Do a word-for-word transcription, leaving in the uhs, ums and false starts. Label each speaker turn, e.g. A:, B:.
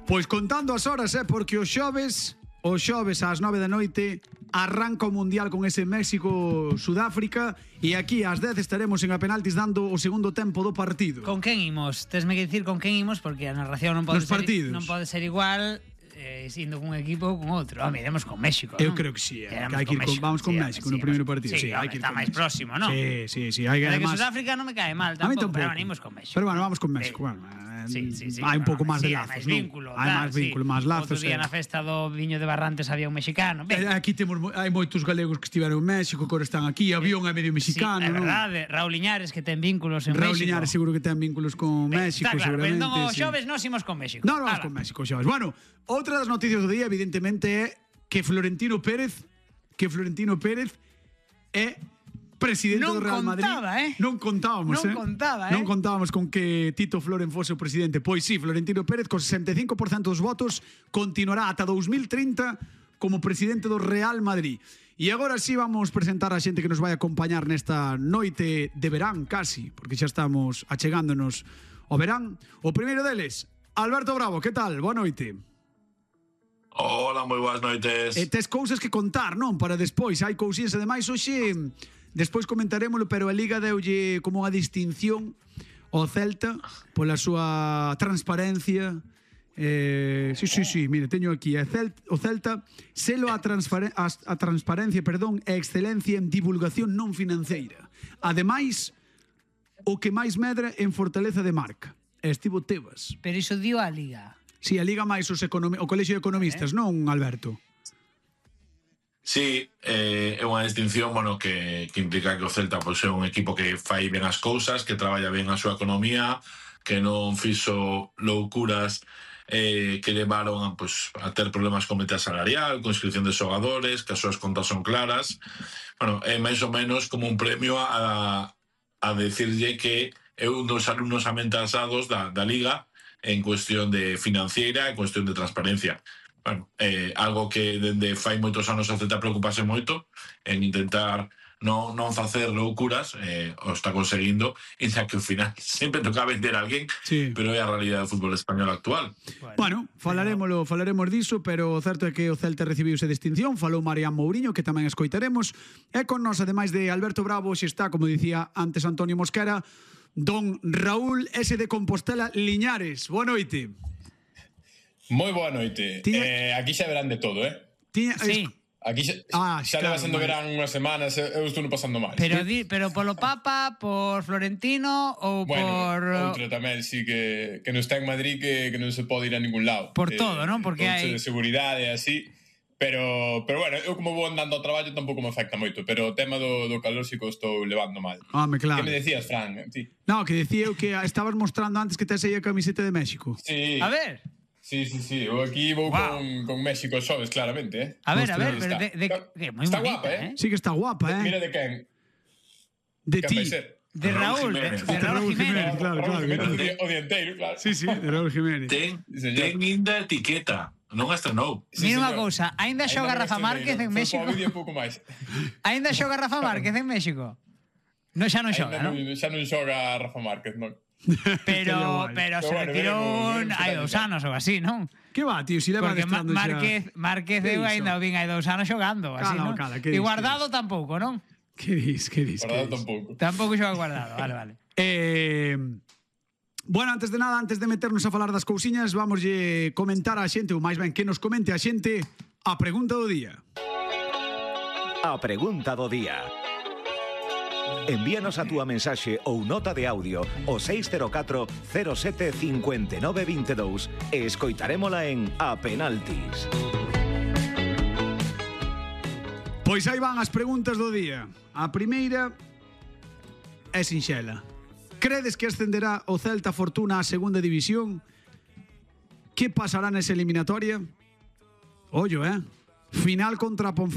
A: Pois contando as horas, eh, porque os xoves, os xoves ás nove da noite arranca o Mundial con ese México-Sudáfrica e aquí ás dez estaremos en a penaltis dando o segundo tempo do partido.
B: Con quen imos? Tesme que dicir con quen imos porque a narración non pode
A: Nos
B: ser
A: partidos.
B: non pode ser igual eh, indo cun equipo ou con outro. Home, iremos con México,
A: Eu
B: non?
A: creo que sí, eh,
B: Iremos
A: que hai que ir con, vamos con
B: sí,
A: México
B: sí,
A: no primeiro
B: home,
A: partido.
B: Sí,
A: Sí, hai
B: home,
A: que ir
B: está
A: con
B: máis
A: México.
B: próximo, non?
A: Sí, sí, sí, hai que
B: Pero que
A: además.
B: Sudáfrica non me cae mal
A: A mí
B: tampouco,
A: tampouco.
B: pero venimos con México.
A: Pero bueno, vamos con México,
B: Sí.
A: bueno. eh,
B: Sí, sí, sí.
A: Hai un pouco máis
B: sí,
A: de
B: hai
A: lazos,
B: máis
A: non?
B: vínculo,
A: Hai
B: tal,
A: máis vínculo,
B: sí.
A: máis lazos.
B: Outro día
A: eh.
B: na festa do Viño de Barrantes había un mexicano. Ben,
A: Eh, Aquí temos mo- hai moitos galegos que estiveron en México, que ahora están aquí, avión é medio mexicano,
B: sí, é
A: non?
B: verdade, Raúl Iñares que ten vínculos en
A: Raúl
B: México.
A: Liñares seguro que ten vínculos con
B: Ben,
A: México,
B: está claro, pero
A: seguramente.
B: entón os
A: sí.
B: xoves nos imos con México.
A: No, no, vamos
B: Ala.
A: con México, xoves. Bueno, outra das noticias do día, evidentemente, é que Florentino Pérez, que Florentino Pérez é presidente
B: Non
A: do Real Madrid.
B: contaba, eh?
A: Non contábamos,
B: Non
A: eh?
B: contaba, eh?
A: Non contábamos con que Tito Floren fose o presidente. Pois sí, Florentino Pérez, co sesenta e cinco por cento dos votos, continuará ata dous mil trinta como presidente do Real Madrid. E agora sí vamos presentar a xente que nos vai acompañar nesta noite de verán, casi, porque xa estamos achegándonos ao verán. O primeiro deles, Alberto Bravo, que tal? Boa noite.
C: Hola, moi boas noites.
A: E tes cousas que contar, non? Para despois, hai cousiñas ademais hoxe, despois comentarémolo, pero a Liga deulle como unha distinción ao Celta pola súa transparencia. Eh, sí, sí, sí, mire, teño aquí a Celta, o Celta selo a, transparen a, a transparencia, perdón, e excelencia en divulgación non financeira. Ademais, o que máis medra en fortaleza de marca. E estivo Tebas.
B: Pero iso dio a Liga.
A: Si, sí, a Liga máis os economi- o Colexio de Economistas,
B: Eh.
A: non, Alberto?
C: Sí, eh, é unha distinción, bueno, que, que implica que o Celta pois, é un equipo que fai ben as cousas, que traballa ben a súa economía, que non fixo loucuras eh, que levaron a, pois, a ter problemas con meta salarial, con inscripción de xogadores, que as súas contas son claras. Bueno, é máis ou menos como un premio a, a decirlle que é un dos alumnos amentasados da, da Liga en cuestión de financiera, en cuestión de transparencia. Bueno, eh, algo que dende fai moitos anos a Celta preocupase moito en intentar non, non facer loucuras, eh, o está conseguindo, e xa que ao final sempre toca vender a alguén,
A: Sí.
C: pero é a realidade do fútbol español actual.
A: Bueno, falarémolo, falaremos diso, pero o certo é que o Celta recibiuse distinción, falou Marián Mourinho, que tamén escoitaremos, e con nos, ademais de Alberto Bravo, xe está, como dicía antes Antonio Mosquera, don Raúl S. de Compostela Liñares. Boa noite.
D: Moi boa noite.
A: Tiña-
D: Eh, aquí xa verán de todo, eh?
A: Tiña,
B: Sí.
D: Aquí xa,
A: Ah,
D: xa
A: claro,
D: leva sendo
A: vale.
D: verán unhas semanas, eu estou non pasando mal.
B: Pero di, pero polo Papa, por Florentino ou
D: bueno,
B: por
D: outro tamén, sí, que, que non está en Madrid, que, que non se pode ir a ningún lado.
B: Por
D: Eh,
B: todo, non? Porque
D: cousa
B: hai-
D: de seguridade e así. Pero, pero bueno, eu como vou andando ao traballo tampouco me afecta moito, pero o tema do, do calor sí que o estou levando mal.
A: Home, claro.
D: Que me decías, Fran? Ti?
A: No, que decía eu que estabas mostrando antes que tes aí a camiseta de México.
D: Sí.
B: A ver,
D: Sí, sí, sí. Eu aquí vou
B: Guau.
D: con, con México xoves, claramente, eh?
B: a ver, a
A: Ostras,
B: ver, pero
D: está.
B: de, de, que moi
D: Está
B: bonita,
D: guapa,
B: eh?
D: eh?
A: Sí que está guapa, eh?
D: Mira de quen.
A: De
D: Quen
A: ti.
D: vai ser?
B: De
C: Raúl
B: Raúl, de,
C: Jiménez.
B: de Raúl
A: Raúl
B: Jiménez.
A: Jiménez. Claro,
D: Raúl
A: claro,
D: Jiménez
A: claro.
D: o día- o dianteiro, claro.
A: Sí, sí, de Raúl Jiménez.
C: Ten,
D: Sí, señor.
C: ten inda etiqueta, non a estrenou.
D: Sí,
B: Mira unha
D: señor.
B: cousa, aínda xoga
D: non
B: Rafa
D: estrenei,
B: Márquez en
D: foi
B: México?
D: para o vídeo un pouco máis.
B: Aínda xoga Rafa Márquez en México? No, xa non xoga,
D: Ainda
B: non?
D: Xa non xoga Rafa Márquez, non?
B: Pero,
A: guai.
B: pero se
D: Pero bueno,
B: retirou
D: veremos, veremos
B: hai
D: que
B: dous
D: tal.
B: anos ou así, non?
A: Que va, tío, si leva
B: Porque Ma-
A: adestrando xa.
B: Márquez, Márquez
A: Que
B: eu
A: iso?
B: aínda o vin hai dous anos xogando, así,
A: Cala,
B: non?
A: cala, que
B: E
A: dis,
B: Guardado tampouco, non?
A: Que dis, que dis, que
D: Guardado
A: dis.
D: tampouco.
B: Tampouco xoga Guardado, vale, vale.
A: Eh, bueno, antes de nada, antes de meternos a falar das cousiñas, vamoslle comentar a xente, ou máis ben que nos comente a xente, a pregunta do día.
E: A pregunta do día. Envíanos a túa mensaxe ou nota de audio ao seis cero catro cero sete cinco nove dos dous e escoitarémola en A Penaltis.
A: Pois aí van as preguntas do día. A primeira é sinxela. Credes que ascenderá o Celta Fortuna á segunda división? Que pasará nesa eliminatoria? Ollo, eh? Final contra a Ponferrada.